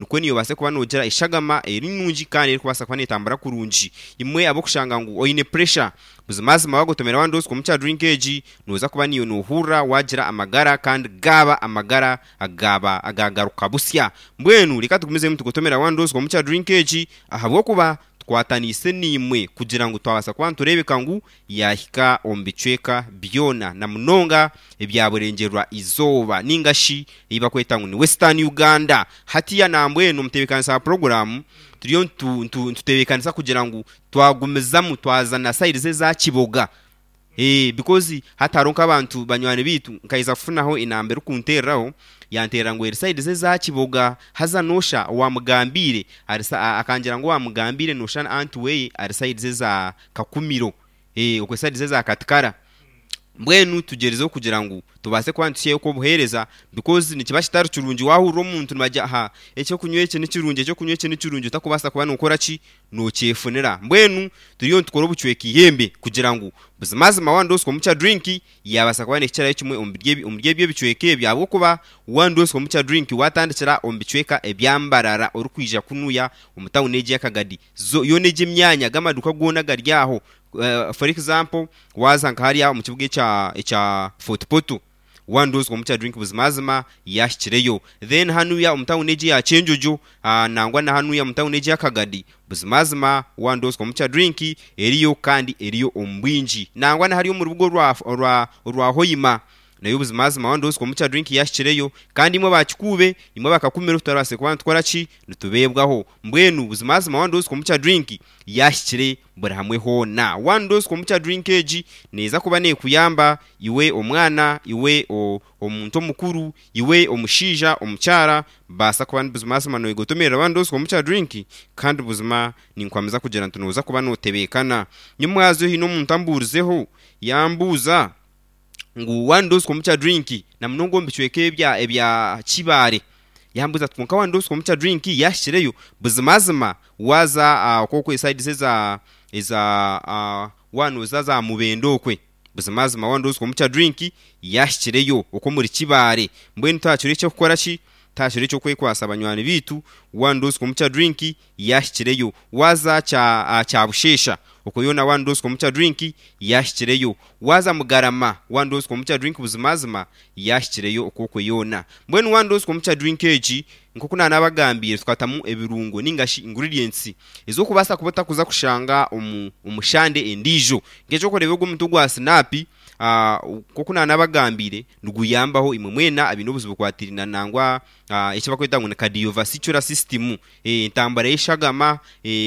Nikwo naiwe obaase kuba noogira eshagama eri nungi kandi erikubaasa kuba neetambura kurungi. Imwe ab'okushanga ngu oine puresha, buzimazima waagotomera one dose komukya drink egi, nooza kuba naiwe noohurira waagira amagara kandi gaaba amagara agaaba agaagaruka busya. Mbwenu reka tugumizemu tugotomera one dose komukya drink egi ahabw'okuba tukwataniise naimwe kugira ngu twabaasa kuba nitureebeka ngu yaahika omu bicweka byona na munonga ebya burengyerwa izooba ninga shi ei barikweta ngu ni Western Uganda. Hatiiya nambwenu omutebeekanisa wa puroguraamu turiyo nitutebeekanisa kugira ngu twagumizamu twaza na sayidi eza Kiboga because hati hariho nk'abantu banywani baitu nkaheza kufunaho enamba erikunteereraho yanteerera ngu eri sayidi ze eza Kiboga haza noosha owaamugambiire akangira ngu owaamugambiire noosha anti we ari sayidi ze eza Kakumiro, okwo esayidi ze za Katikara. Mbwenu tugyerizeho kugira ngu tubaase kuba nituhitsyayo okwo obuheereza because nikiba kitari kirungi waahurira omuntu nibagira aha eky'okunywa eki ni kirungi, eky'okunywa eki ni kirungi otakubaasa kuba nookora ki? Nookyefunira. Mbwenu turiyo nitukora obucweka eihembe kugira ngu buzimazima one dose komukya drink yaabaasa kuba neehikirayo kimwe omuri ebyo ebicweka ebyo ahabw'okuba one dose komukya drink waatandikira omu bicweka ebya Mbarara orikwija kunuya omu tawuni egi eya Kagadi Yoona egyo emyanya, ago amaduuka goona agari aho, for example waaza nka hariya omu kibuga ekya ekya Fort Portal, one dose komukya drink buzimazima yaahikireyo. Then hanuya omu tawuni egi eya Kyenjojo, nangwa na hanuya omu tawuni egi eya Kagadi, buzimazima one dose komukya drink eriyo kandi eriyo omu bwingi. Nangwa na hariya omu rubuga orwa orwa orwa Hoima, Nayo buzimazima one dose komukya drink yahikireyo kandi imwe aba Kikuube imwe aba Kakumiro tutarabaasire kuba nitukora ki? Nitubeebwaho. Mbwenu buzimazima one dose komukya drink yahikire buri hamwe hoona. One dose komukya drink egi neeza kuba neekuyamba iwe omwana, iwe omuntu omukuru, iwe omushaija, omukyara baasa kuba buzimazima noyegotomerera one dose komukya drink kandi buzima ninkwamiza kugira nti nooza kuba nootebeekana. Nyomwazyo haine omuntu ambuurizeho yambuuza. ngu one dose komukya drink na munonga omu bicweka ebya ebya Kibaare. Yambuuza ati kwonka one dose komukya drink yaahikireyo? Buzimazima waaza okwo esayidi eza eza waaba nooza za Mubende okwe, buzimazima one dose komukya drink yaahikireyo okwo omuri Kibaare. Mbwenu tihakiriho eky'okukora ki? Tihakiriho eky'okwekwasa banywani baitu, one dose komukya drink yaahikireyo. Waaza kya Kyabusheesha okwo yoona one dose komukya drink yaahikireyo. Waaza Mugarama one dose komukya drink buzimazima yaahikireyo okwo okwo yoona. Mbwenu one dose komukya drink egi nk'oku naanabagambiire tukatamu ebirungo ninga shi ingredients ez'okubaasa kuba otakuza kushanga omu omu shande endiijo. Nk'eky'okureeba ogu omuti ogwa sinaapi nk'oku naanabagambiire niguyambaho imwe mwena abaine obuzibu bukwatiraine nangwa eki barikweta ngu ni cardiovascular system, entambura y'eshagama,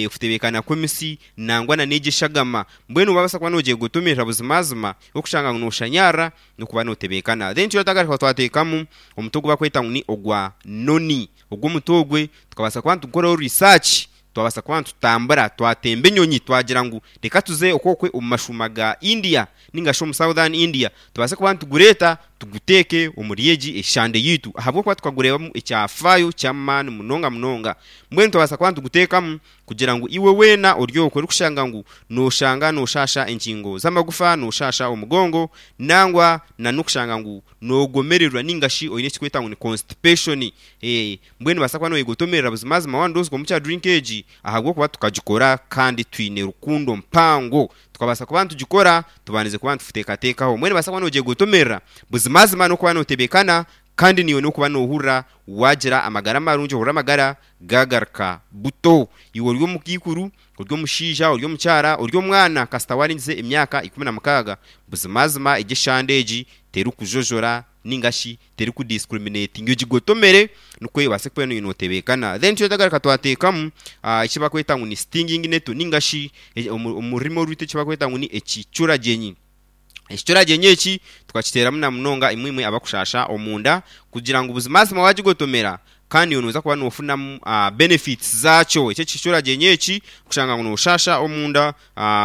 okutebeekana kw'emitsi nangwa na n'egyo eshagama. Mbwenu waabaasa kuba noogyegotomerera buzimazima orikushanga ngu nooshanyarara n'okuba nootebeekana. Then twatagaruka twateekamu omuti ogu barikweta ngu ni ogwa noni. Ogwo omuti ogwe tukabaasa kuba nitugukoraho research Twabaasa kuba nitutambura twatemba enyonyi twagira ngu reka tuze okwokwe omu mashuuma ga India ninga shi omu Southern India tubaase kuba nitugureeta tuguteeke omuri egi eshande yaitu ahabw'okuba tukagureebamu ekyafaayo ky'amaani munonga munonga. Mbwenu twabaasa kuba nituguteekamu kugira ngu iwe weena ori okwo orikushanga ngu nooshanga nooshaasha engingo z'amagufa, nooshaasha omugongo nangwa na n'okushanga ngu noogomererwa ninga shi oine ekirikwetwa ngu ni constipation. Mbwenu nobaasa kuba noyegotomerera buzimazima one dose komukya drink egi ahabw'okuba tukagikora kandi twine rukundo mpango. Tukabaasa kuba nitugikora tubandize kuba nituteekateekaho. Mbwenu nobaasa kuba nogyegotomerera buzimazima n'okuba notebekana kandi naiwe n'okuba nohurira wagira amagara marungi ohurire amagara gagaruka buto. Iwe ori omukaikuru, ori omushaija, ori omukyara, ori omwana kasita warengize emyaka 16 buzimazima egi eshande egi terikujojora ninga shi terikudiscriminatinga ogigotomere nikwo obaase kuba notebeekana. Then twatagaruka twateekamu eki barikweta ngu ni stinging nettle ninga shi omu rurimi orwaitu eki barikweta ngu ni ekicuragyenyi. Ekicuragyenyi eki tukakiteeramu na munonga imwe imwe abakushaasha omunda kugira ngu buzimazima waagigotomera Kandi iwe noza kuba nofunamu benefits zakyo. Eki ekicuragyenyi eki, kushanga ngu noshasha omunda,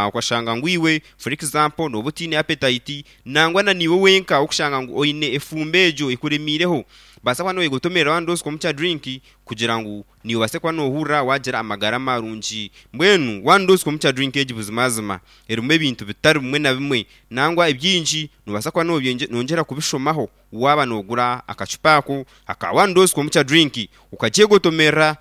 okashanga ngu iwe for example noba otiine appetite, nangwa na niiwe wenka okushanga ngu oine efumbo egyo ekuremiireho. Baasa kuba noyegotomerera One Dose Kombucha Drink kugira ngu niiwe obaase kuba noohurira waagira amagara marungi. Mbwenu One Dose Kombucha Drink egi buzimazima erimu ebintu bitari bimwe na bimwe nangwa ebingi noobaasa kuba noyongyera kubishomaho waaba noogura akacupa ako aka One Dose Kombucha Drink okagyegotomerera.